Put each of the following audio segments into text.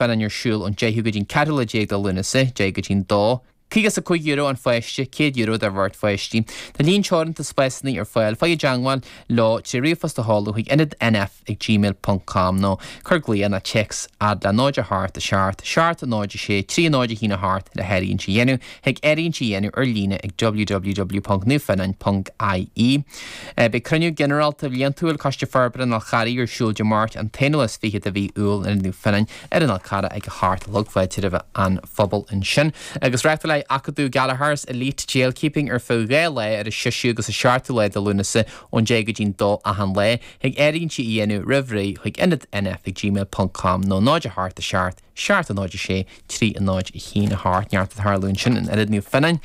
Fionnán ar siúl ón 10ú go dtí'n 14ú lá de Lúnasa, 10 go dtí'n 2. €55 an pháiste, €100 do bheirt pháistí. Tá líon teoranta spásanna ar fáil. Faigh i dteangmháil leo trí ríomhphost a sheoladh chuig ionadnf ag gmail ponc com nó cuir glaoch nó téacs fhad le 0 8 7 7 0 6 3 0 1 8 le háirithint a dhéanamh Thig áirithint a dhéanamh ar líne ag www.naomhfhionnáin.ie. Beidh cruinniú ginearálta bhliantúil Coiste Forbartha an Fhál Charraigh ar siúl Dé Máirt an t-21 de mhí Iúil in Ionad Naomh Fionnáin ar an Fhál Carrach ag a hocht a chlog. Fáilte roimh an phobal ansin. Agus reáchtálfaidh Acadamh Gallagher's Elite Jailkeeping ar feadh 2 lá ar an 6ú agus an 7ú lá de Lúnasa ón 10 go dtí'n 2 achan lá. Thig áirithintí a dhéanamh roimh ré chuig ionadnf ag gmail.com nó 0 8 7 7 0 6 3 0 1 8 Neart ag tarlú ansin in Ionad Naomh Fionnáin.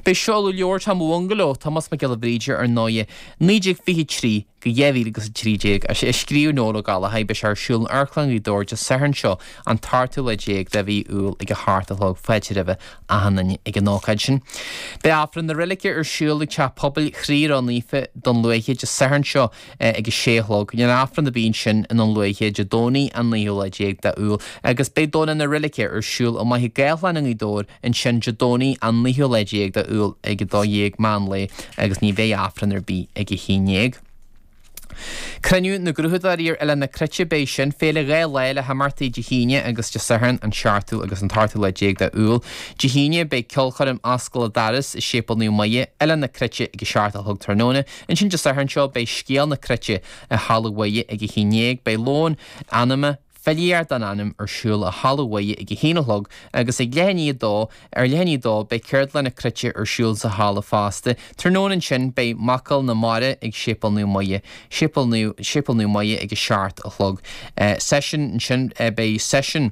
Beidh seoladh leabhair Tom Bhungaló, Tomás Mac Giolla Bhríde ar ndóighe, 1923 go 2013, a scríobh Noel Ó Gallchóir. Beidh sé ar siúl in Amharclann Ghaoth Dobhair Dé Sathairn seo, an t-ochtú lá déag de mhí Iúil ag a hocht a chlog. Fáilte roimhe achan duine ag an ócáid sin. Beidh Aifreann na Reilige ar siúl ag Teach Pobail Chroí Ró-Naofa, Dún Lúiche, Dé Sathairn seo ag a sé a chlog. Níl Aifreann ar bith ansin i nDún Lúiche Dé Domhnaigh an naoú lá déag de Iúil agus beidh Domhnach na Reilige ar siúl i Machaire Gathlán i nGaoth Dobhair ansin Dé Domhnaigh an naoú lá déag de Iúil ag a dó dhéag meán lae agus ní bheidh Aifreann ar bith ag a haon dhéag. Cruinniú na gCruthaitheoirí ar Oileán na Cruite Beidh sin, féile 2 lá le himeachtaí Dé hAoine agus Dé Sathairn, an seachtú agus an t-ochtú lá déag de Iúil. Dé hAoine beidh ceolchoirm Oscail an Doras i Séipéal Naomh Muire, Oileán na Cruite ag a seacht a chlog tráthnóna. Ansin Dé Sathairn seo beidh Scéal na Cruite i Halla Mhuire ag a haon dhéag. Beidh lón anama, Filíocht don Anam ar siúl i Halla Mhuire ag a haon a chlog agus ag leath i ndiaidh a dó ar leath i ndiaidh a dó beidh Ceardlann na Cruite ar siúl sa halla fosta. Tráthnóna ansin beidh Macalla na Mara ag Séipéal Naomh Muire, Séipéal Naomh, Séipéal Naomh Muire ag a seacht a chlog. Seisiún ansin beidh seisiún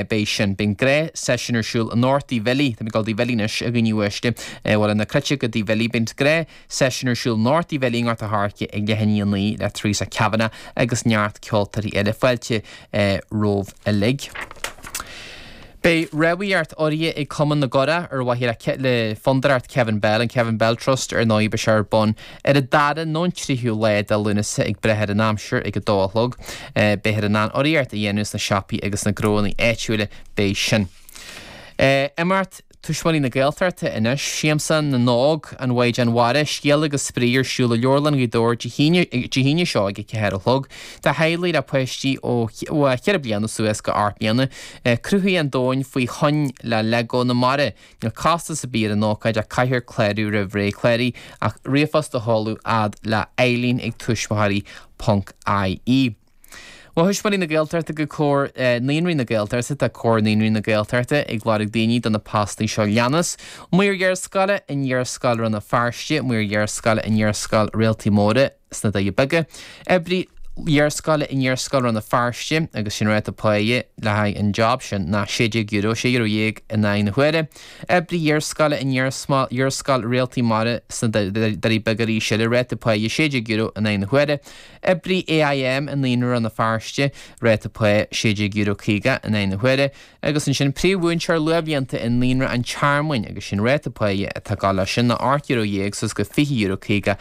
beidh sin. Beidh an gnáth seisiún ar siúl in Ord Uí Bhilí, tá mé ag dul Uíbh Fhailí anois a dhaoine uaisle, bhuel na Cruite go Uíbh Fhailí, beidh an gnáth Seisiún ar siúl in Ord Uí Bhilí i nGort a' Choirce ag leath i ndiaidh a 9 le Teresa Kavanagh agus neart ceoltóirí eile. Fáilte romhaibh uilig. Beidh rámhaíocht urraithe ag Cumann na gCurach ar mhaithe le Fondúireacht Kevin Bell, an Kevin Bell Trust, ar ndóigh. Beidh sé ar bun ar an dara nó an tríú lá de Lúnasa ag brath ar an aimsir ag a dó a chlog. Beifear in ann urraíocht a dhéanamh sna siopaí agus sna gnóanna áitiúla. Beidh sin. Imeacht Tuismitheoirí na Gaeltachta anois, Siamsa na nÓg, An Mhaighdean Mhara, Scéal agus Spraoi ar siúl i Leabharlann Ghaoth Dobhair Dé hAoine seo ag a 4 a chlog. Do theaghlaigh le páistí ó 4 bliana suas go 8 mbliana. Cruthaigh an domhan faoi thoinn le Lego na Mara. Níl costas ar bith ar an ócáid ach caithfear clárú roimh ré. Cláraigh ach ríomhphost a sheoladh fhad le Eileen ag tuismitheoirí ponc ie. Ó Thuismitheoirí na Gaeltachta go Comhar Naíonraí na Gaeltachta Tá Comhar Naíonraí na Gaeltachta ag lorg daoine do na postanna seo leanas, Maor Léarscáile in Léarscáil Rann na Feirste, Maor Léarscáile in Léarscáil Réaltaí Móra sna Doirí Beaga, Oibrí Léarscáile in Léarscáil Rann na Feirste agus sin ráta páighe le haghaidh an job sin ná €16, €16 in aghaidh na huaire. Oibrí Léarscáile in Léarscáil Réaltaí Mara sna Doirí Beaga arís eile, ráta páighe €16 in aghaidh na huaire. Oibrí AIM i Naíonra Rann na Feirste, ráta pá €16.50 in aghaidh na huaire, agus ansin príomh-mhúinteoir luathbhlianta i Naíonra an Tearmainn agus sin ráta páighe atá ag gabháil leis sin ná €18 suas go €20.50.